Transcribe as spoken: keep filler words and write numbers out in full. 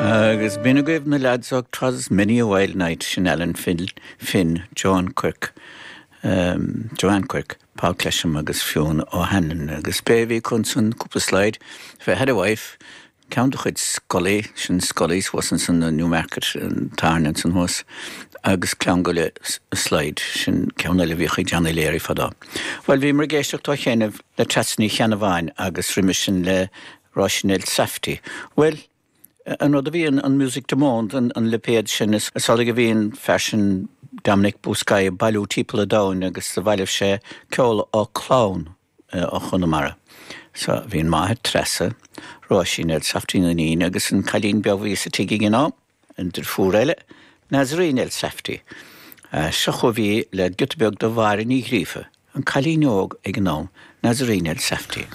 Agus b'in agaibh na lads ó 'Twas Many a Wild Night sin Alan Finn, Finn John Quirk, um, Joanne Quirk, Paul Clesham agus Fionn O'Hanlon agus b'é bhí chun cúpla slide fé had a wife, ceann de chuid Scully sin Scully thuas san Newmarket an tarn san thuas agus clann le slide sin ceann eile bhí chuig Johnny Leary fadó. Well bhíomar ag éisteacht ó chianaibh le Treasa Ní Cheannabháin agus roimhe sin le Róisín Elsafty. Well, an rud a bhí an Musique du Monde an, an lipéad sin is sála a bhíonn freisin Dominic Buscai bailiú timpeall an domhain agus sa bhailimh sé ceol ó clann ó Chonamara. So bhí an máthair Treasa Róisín Elsafty an iníon agus an cailín beag bhí sa tigh ag an am an deirfiúr eile Nazarene Elsafty. Uh, seo chugaibh í le giota beag de Mháire Ní Ghríofa, an cailín óg ag an am Nazarene Elsafty.